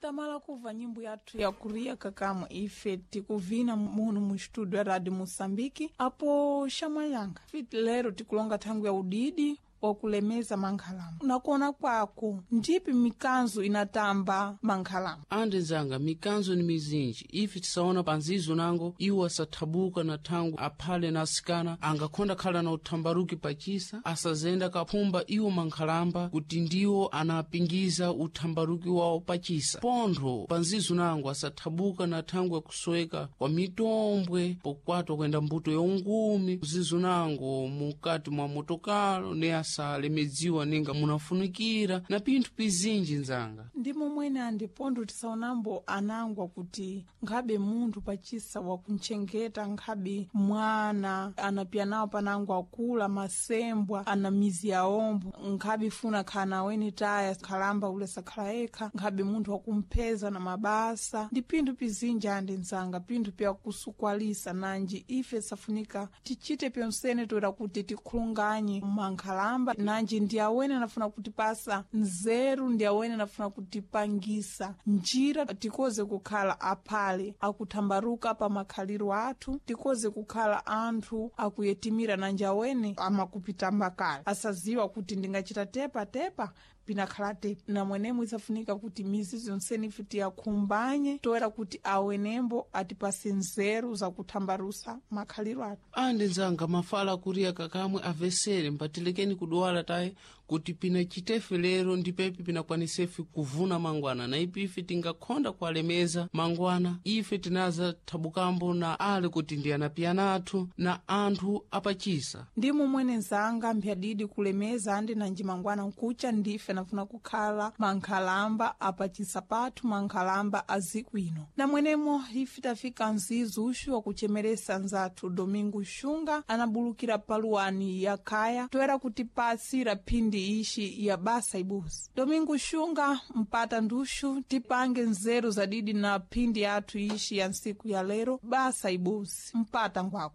Tamala kuva nyimbo yathu ya kuriya kakamwe ife tikuvina muno mu studio ya Radio Moçambique apo xamayanga fiti lero tikulonga thangu ya udidi wakulemeza mankhalamba nakuona kwako ndipi mikanzo inatamba mankhalamba? Andi nzanga, mikanzo ni mizinji. Ife tisaona panzizo nango iwo asathabuka na thangu aphale na asikana angakhonda khala na uthambaruki pachisa asazenda kaphumba iwo mankhalamba kuti ndiwo anapingiza uthambaruki wawo pachisa. Pontho panzizo nango asathabuka na thangu yakusoweka kwa mitombwe pokwatwa kwenda mbuto yaungumi zizo nango mukati mwa motokalo ne asalemedziwa ninga munafunikira na pinthu pizinji nzanga. Ndimo mwene andi pontho tisaonambo anangwa kuti nkhabe munthu pachisa wakuntchengeta nkhabe mwana anapiya nawo panango akula masembwa ana mizi yaombo nkhabe funa khala naweni taya khalamba ule sakhala yekha nkhabe munthu wakumpheza na mabasa ndi pinthu pizinji andi nzanga pinthu pyakusukwalisa nanji ife safunika tichite pyonsene toera kuti tikhulunganye mankhalamba nanji ndi awene anafuna kutipasa nzeru ndi awene anafuna kutipangisa njira tikoze kukhala aphale akuthambaruka pa makhaliro athu tikoze kukhala anthu akuyetimira nanji awene amakupitamba kale asaziwa kuti ndingachita tepa tepa pinakhala tepa namwenemwe isafunika kuti mizi yonsene ife tiyakhumbanye toera kuti awenembo atipase nzeru zakuthambarusa makhaliro athu. Andi nzanga, mafala akuriya kakamwe avesere mpatilekeni kudwala taye kuti pinachitefe lero ndipepi pinakwanisefe kuvuna mangwana na ipi ife tingakhonda kuwalemeza mangwana ife tinaza thabukambo na ale kuti ndi anapiyana athu na anthu apachisa. Ndimo mwene nzanga mphyadidi kulemeza andi nanji mangwana nkucha ndife nafuna kukhala mankhalamba apachisa pathu mankhalamba aziku ino namwenemo ife tafika mzizu uxu wakuchemeresa nzathu Domingo Xunga anabulukira paluwani ya khaya toera kutipasira phindi ixi ya basa ibuzi. Domingo Xunga mpata nduxu tipange nzeru zadidi na phindi yathu ixi ya nsiku ya lero basa ibuzi mpata ngwako.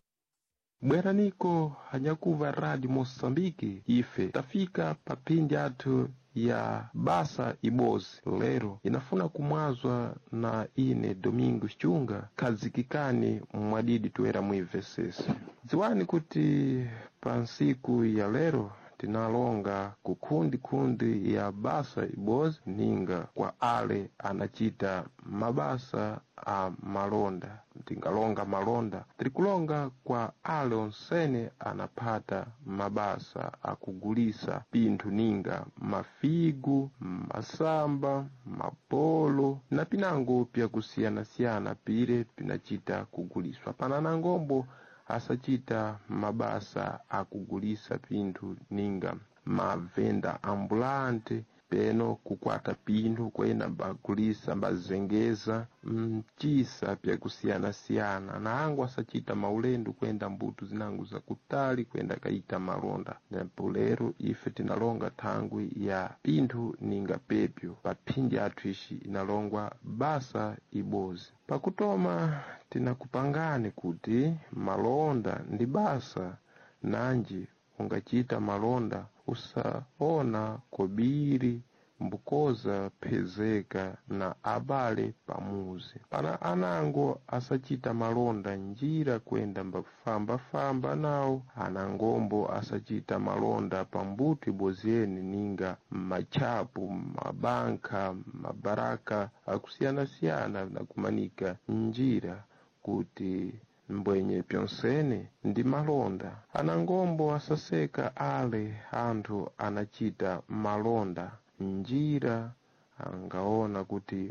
Bweraniko hanyakuva Radio Moçambique, ife tafika papindi athu ya basa ibozi lero inafuna kumwazwa na ine Domingo Xunga khazikikani mwadidi toera muimvesese. Dziwani kuti pa nsiku ya lero tinalonga kukhundikhundi ya basa ibozi ninga kwa ale anachita mabasa a malonda. Tingalonga malonda tirikulonga kwa ale onsene anaphata mabasa akugulisa pinthu ninga mafigu, masamba, mapolo na pinango pyakusiyanasiyana pire pinachita kuguliswa. Pana nangombo asachita mabasa akugulisa pinthu ninga mavenda ambulante peno kukwata pinthu kwena mbagulisa mbazengeza mchisa pyakusiyanasiyana na angu asachita maulendo kwenda mbuto zinango zakutali kwenda kaita malonda. Napo lero ife tinalonga thangwi ya pinthu ninga pepyo paphindi athu ixi inalongwa basa ibozi. Pakutoma tinakupangani kuti malonda ndi basa nanji ungachita malonda usaona kobiri mbukoza phezeka na abale pamuzi. Pana anango asachita malonda njira kwenda mbafambafamba nawo anangombo asachita malonda pambuto iboziyeni ninga matchapu, mabanka, mabaraka akusiyanasiyana nakumanika njira kuti mbwenye pyonsene ndi malonda. Anangombo asaseka ale anthu anachita malonda njira angaona kuti